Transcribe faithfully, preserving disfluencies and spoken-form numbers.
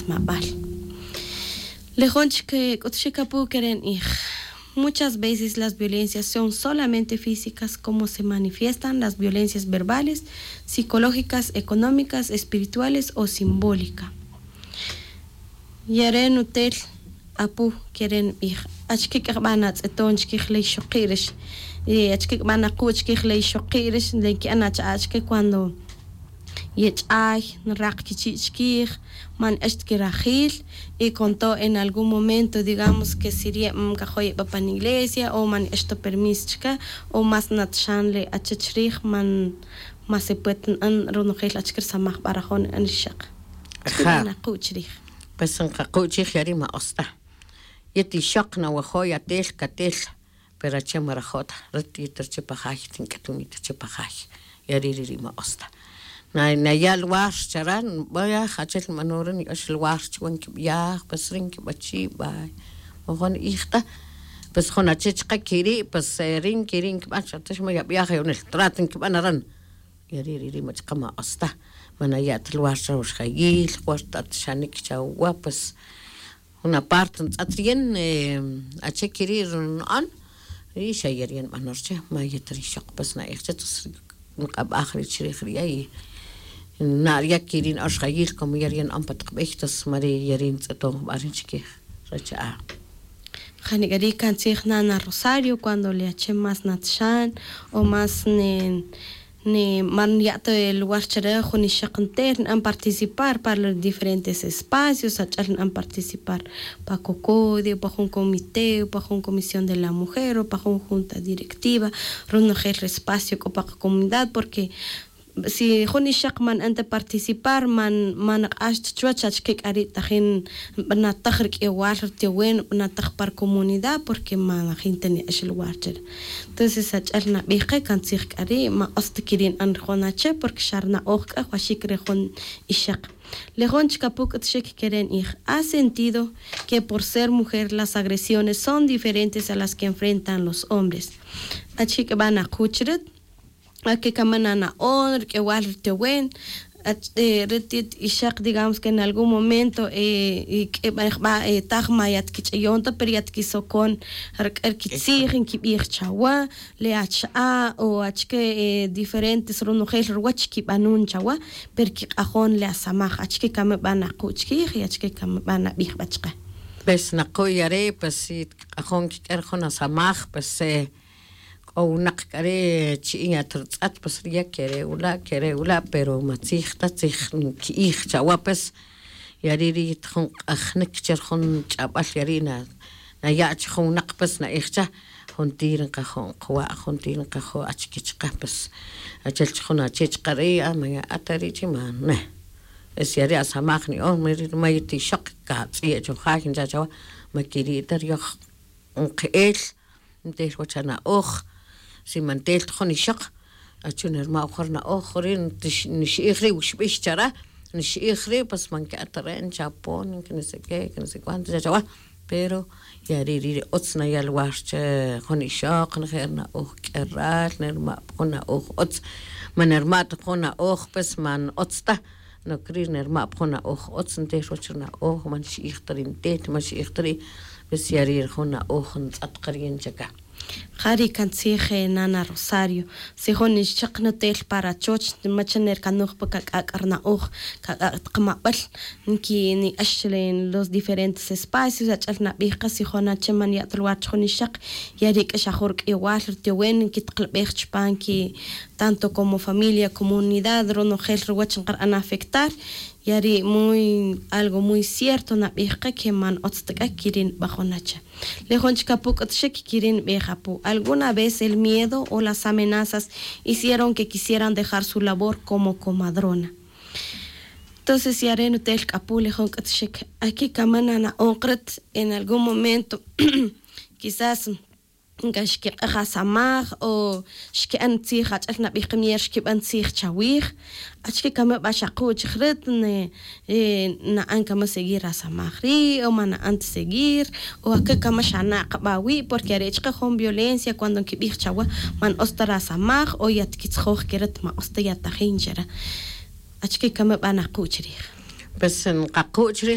mabal. Lejon chik c'utxik apu queren ij. Muchas veces las violencias son solamente físicas como se manifiestan las violencias verbales, psicológicas, económicas, espirituales o simbólica. Yare nutel apu queren ij. Achque c'bana tz'eton chiquij ley xoki' rix. Achque c'bana cu' chiquij ley xoki' rix le que'an ach'achque cuando yech'ay nrak quichi' chiquij, man ix ta quirajil. Y con todo en algún momento digamos que si riye' man cajo' ye'ba pan iglesia o man ix ta permis chica o más natxan le achach rij man más se puede na'an ronojel achque risamaj barajon na'an rixak. Achque bana ku' chirij. Pues nkaku' chij yari' ma osta. Yet ixok nawajo' yatel catel. Pero ache ma rajo' ta rit yet riche pa jay tink'atunit riche pa jay. Yari' riri' ma osta. Naya' lugar chara nbaj achel nbano re niy'ox lugar chuwa nkibiaj pues ri nkibachi' bay. Mojo ni'ij ta. Pues jun ache chaka quiri' pues ri nquiri' nkiban xa ta xma yabiaj yonel trat nkiban aran. Yari' riri' ma chaka ma osta. Ma naya' ta lugar chawa xjayil juerta ta xanic chawa pues. Jun aparte ntz'at riyin ache quiri' ri na'an. Ri xa yari' nbano riche ma yet ri ixok pues na'ij che tos nk'abaj ri chirij riya' y na' riya' quiri' na'ox jayil como yari' na'an pa tak bey tos ma ri yari' ntz'eton jba ri chiquij. Racha a. Janic'ari' can tzij nana rosario cuando le ache más natxan o más ne ne man ya' ta lugar chare jun ixak nter na'an participar pa los diferentes espacios ach'al na'an participar pa cocode o pa jun comité o pa jun comisión de la mujer o pa jun junta directiva. Ronojel re espacio c'o pa kacomunidad porque si jun ixak man na'an ta participar man man nak'ax ta chuwech achque c'ari' tajin nbanataj ri q'uiwal ri tiwen nbanataj pa ri comunidad porque ma najin ta ni'ax lugar chare. Entonces ach'el nabij ke can tzij c'ari' ma otz ta quiri' na'an ri jun ache porque xa ri na'oj c'a jwaxic re jun ixak. Le jun chic apu c'utxic quere' ni'ij ha sentido que por ser mujer las agresiones son diferentes a las que enfrentan los hombres. Achque c'a ba nakuch rit. Ake cama nana'on ri q'uiwal ri tiwen. Ri tit ixak digamos que en algún momento q'uibaj ba taj ma yatquich'ayon ta pero yatquisocon ric'a ri quitzij nquibij chawa le acha'a o achque diferentes ronojel ruwach quibanon chawa. Pero quik'ajon le asamaj achque cama ba naku' chiquij y achque cama ba nabij ba chake. Pues naku' yare pues si quik'ajon quiq'uer jun asamaj pues c'o winak c'are' chi'in yat rutz'at pues riya' quere' wula' quere' wula' pero ma tzij ta tzij nqui'ij chawa pues. Yari' ri yet jun k'ajnic che ri jun ch'abal yari' naya' che jun winak pues na'ij cha. Juntir nkajo' nkawa' juntir nkajo' achque chaka pues achel che jun ache chaka ri' a ma ya'at ta ri' chi ma ne. Es yari' asamaj ni'on ma yet ixok catz'iye' cho jay ncha' chawa. Ma quiri' ta riyoj nke'el ntel wach ana'oj. Si ma ntel ta jun ixok achu nirma' wujun ri na'oj ri nixa'ij ri' wuxbix chara. Nixa'ij ri' pues ma nke'at ta re' nchapon que no se qué que no se cuánto ncha' chawa. Pero yari' ri' ri otz naya' lugar che jun ixok nje' ri na'oj q'ueral nirma' pa jun na'oj otz. Ma nirma' ta jun na'oj pues ma n-otz ta. Noc ri' nirma' pa jun na'oj otz ntel wach ri na'oj ma nixa'ij ta ri' ntel ma nixa'ij ta ri'. Pues yari' ri jun na'oj ntz'at ka ri' nchaka. Ja ri' can tzij nana rosario. Si jun nixchak nutel pa rachoch ma cha nircanoj pa cac'ac' ri na'oj cac'ac' tak mabel. Nquini'ax los diferentes espacios ach'el nabij ka si jun ache ma niya' ta lugar chi jun ixak. Yari' c'a xa jun ri q'uiwal ri tiwen nquitakilbej chupan qui tanto como familia comunidad ronojel ruwach nkar'an afectar. Yari' muy algo muy cierto nabij ka que ma n-otz ta c'a quiri' nbajon ache. Le jun chic apu c'utxic quiri' nbij apu alguna vez el miedo o las amenazas hicieron que quisieran dejar su labor como comadrona. Entonces yare' nutel c'a apu le jun c'utxic. Aquí cama nana'on kret en algún momento quizás nca xquik'ej asamaj o xque'an tzij ach'el nabij kamier xquiban tzij chawij. Achque cama ba xaku' chij rit na'an cama seguir asamaj ri' o ma na'an ta seguir o aque cama xana' kaba wi' porque are' chike jun violencia cuando nquibij chawa ma n-otz ta rasamaj o yatquitzjoj que rit ma otz ta yatajin chare. Achque cama ba naku' chirij? Pues nkaku' chirij.